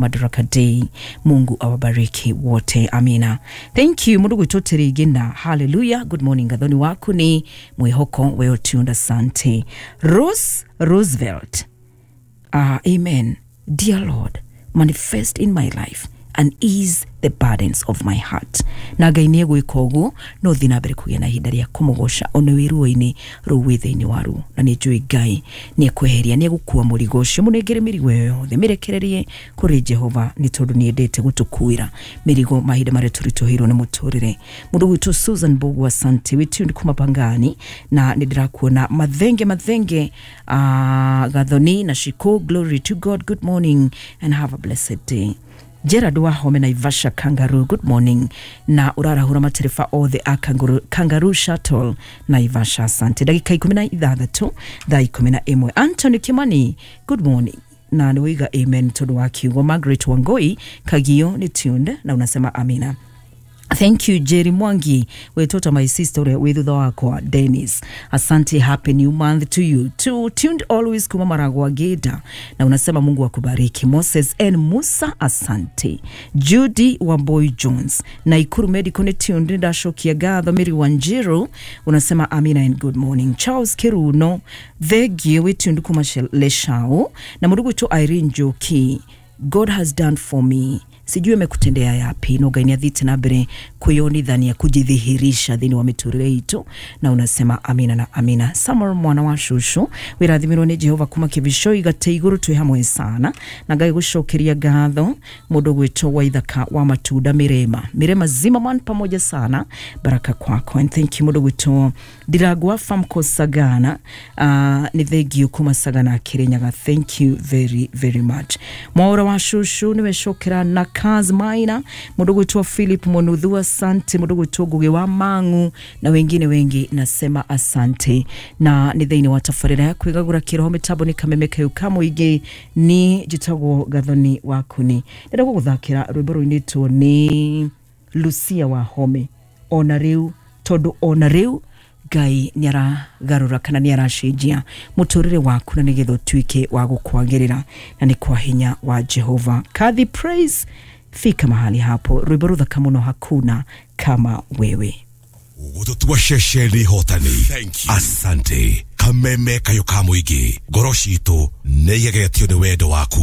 Madaraka Day. Mungu awabariki wote, amina. Thank you mundu gwitwo Tirigina, hallelujah. Good morning Gathoni waku ni mwihoko weotunda, sante. Rose Roosevelt, amen. Dear Lord, manifest in my life and ease the burdens of my heart. Na Ngai nĩ egwĩka ũguo, no thiĩ na mbere kũgĩa na ihinda rĩa kũmũgoca ona wĩ ruo-inĩ rũu wĩ thĩinĩ waruo, na nĩ njũĩ Ngai nĩ ekweheria, nĩ egũkua mũrigo ũcio. Mũnengere mĩrigo ĩyo yothe, mĩrekererie kũrĩ Jehova, nĩ tondũ nĩ endete gũtũkuĩra mĩrigo mahinda marĩa tũritũhĩirwo nĩ mũtũrĩre. Mũndũ gwitũ Susan Bogu, asante, wĩ tuned kuma Pangani, na nĩ ndĩrakuona mathenge mathenge. Gathoni na Shiko, glory to God, good morning and have a blessed day. Gerard Wahome, Naivasha Kangaroo, good morning, na urarahura matereba othe a Kangaroo, Kangaroo Shuttle Naivasha, asante. Ndagika 16 thaa 11. Anthony Kimani, good morning, na nĩ wĩiga amen tondũ wa kiugo. Margaret Wangoi Kagio nĩ tuned na unasema amina. Thank you Jerry Mwangi, wetoto my sister ũrĩa wĩ thutha wakwa Dennis. Asante, happy new month to you. To tuned always kuma Maragwa Geda, na unasema Mungu akubariki. Moses N Musa, asante. Judy Wamboi Jones, Naikuru Medical nĩ tuned, ndashokia gatho. Mary Wanjiru unasema amina and good morning. Charles Kiruno Thegio wĩ tuned kuma Leshao, na mũndũ gwitũ Irene Njoki, God has done for me, sijui amekutendea yapi, no Ngai nĩathiĩte na mbere kwĩyonithania, kujidhihirisha thĩinĩ wa mĩtũrĩre itũ, na unasema amina na amina. Samuel mwana wa shushu, wĩrathimirwo nĩ Jehova kuma Kĩbicoi gate igũrũ, twĩ hamwe sana na Ngai gũcokeria ngatho. Mũndũ gwĩtwo Waithaka wa Matunda, Mirema Mirema Zimmerman, pamoja sana, baraka kwako and thank you. Mũndũ gwĩtwo Ndiragwa Famco Sagana, nĩ thengio kuma Sagana Kirinyaga, thank you very very much. Mwaura wa shushu nĩwe cokera na Kaz Maina, mũndũ gwĩtwo Philip Monuthu, asante. Mũndũ gwĩtwo Ngugi wa Mangu na wengine wengi, nasema asante. Na nĩ thĩinĩ wa tabarĩra ya kwĩgagũra kĩroho, mĩtambo nĩ Kameme Kayu ka mũingĩ, ni njĩtagwo Gathoni Wakuni. Ndĩrenda gũgũthakĩra rwĩmbo rũinĩtwo nĩ Lucia Wahome, ona rĩu, tondũ ona rĩu Ngai nĩ aragarũra kana nĩ aracenjia mũtũrĩre waku na nĩgetha ũtuĩke wa gũkwagĩrĩra, na nĩ kwa hinya wa Jehova. Kadhi Praise, fika mahali hapo, rwĩmbo rũthaka mũno, hakuna kama wewe. Gũtũtua ceceni hotani. Asante Kameme Kayo ka mũingĩ, ngoro citũ nĩ igegetio nĩ wendo waku.